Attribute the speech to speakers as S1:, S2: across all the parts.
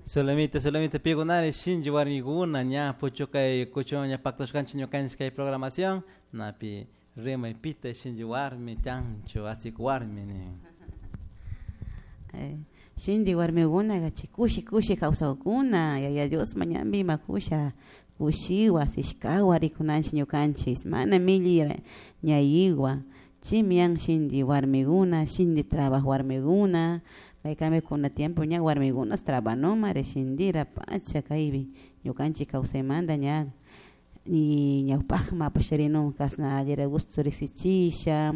S1: Solamente, solamente pigunari shinchi warmikuna ña puchukay kuchun ña pactashkanchik ñukanchik kay programación napi rimay pita shinchi warmi chancho asik warmi nin.
S2: Shinchi warmikunaqa chay kushi kushi kawsakuna Yaya Dios mañanpi imakusha kushiwa asishkawa rikunanchik ñukanchik mana milli ñayiwa chimian shinchi warmikuna shinchi trabajo warmikuna maykami kuna tiempo ña warmikunas trabanumari shintira pacha kaypi ñukanchik kawsaymanta ña y ñawpakman apasharinun kasna allira gusto riksichisha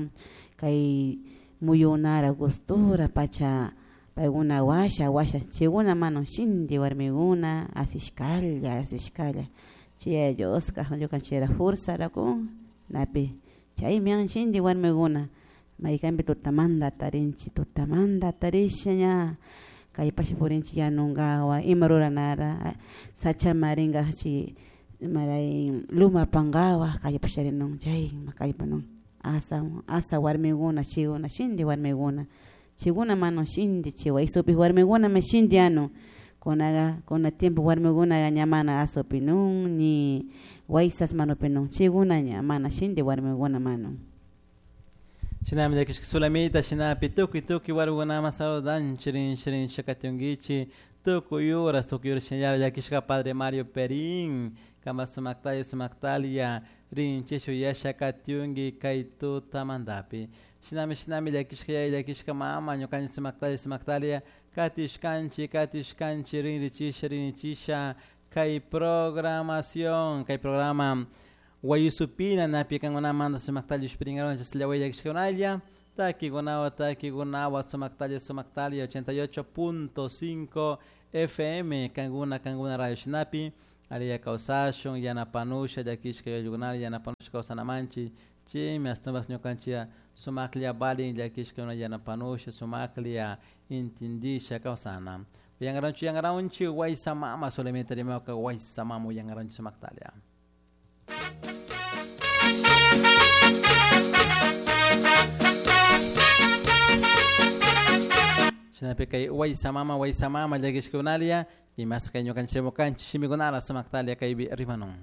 S2: kay muyunara gustura pacha paykuna washa washa chaykuna manu shinti warmikuna asishkalla asishkalla chay Yaya Dios kasna ñukanchikra fuerzara kun napi chaymi an shinti warmikuna maykanpi tutamanta atarinchik tutamanta atarisha ña kallpasha purinchik yanunkawa ima ruranara sachaman rinkachi imaray luma apankawa kallpasharinun chayma kallpanun asa asa warmikuna chaykuna shinti warmikuna chaykuna manu shinti chay waysupi warmikunami shinti anu kunaga kuna tiempo warmikunaga ña mana asupinun ni waysas manupinun chaykuna ña mana shinti warmikuna manu.
S1: Shinami llakishka Sulamita shinapi tukuy tukuy warmikunaman saludanchik rinchi rinchi katunkichik tukuy horas tukuy horas shinallara llakishka Padre Mario Perin kama sumaktalla sumaktalla rinchi shuyasha katunki kay tutamantapi shinami shinami llakishka yaya llakishka mama ñukanchik sumaktalla sumaktalla katishkanchik katishkanchik rinrichisha rinrichisha kay programación kay programa Wayusupina napi kankunamanta sumaktalla ishpirinkaronchik sillaway llakishkakunalla takikunawa takikunawa sumaktalla sumaktalla 88.5 FM kankuna kankuna radio shinapi ariya kawsashun yanapanusha llakishka ayllukunata yanapanusha kawsanamanchik chaymi ashtawanpas ñukanchik sumaklla valin llakishkakuna yanapanusha sumaklla intindisha kawsana uyankaranchik uyankaranchik waysamama solamente rimawka waysamama uyankaranchik sumaktalla. Shinapi kay waysamama waysamama llakishkakunalla imas kay ñukanchik rimukanchik shimikunara sumaktalla kaypi rimanun.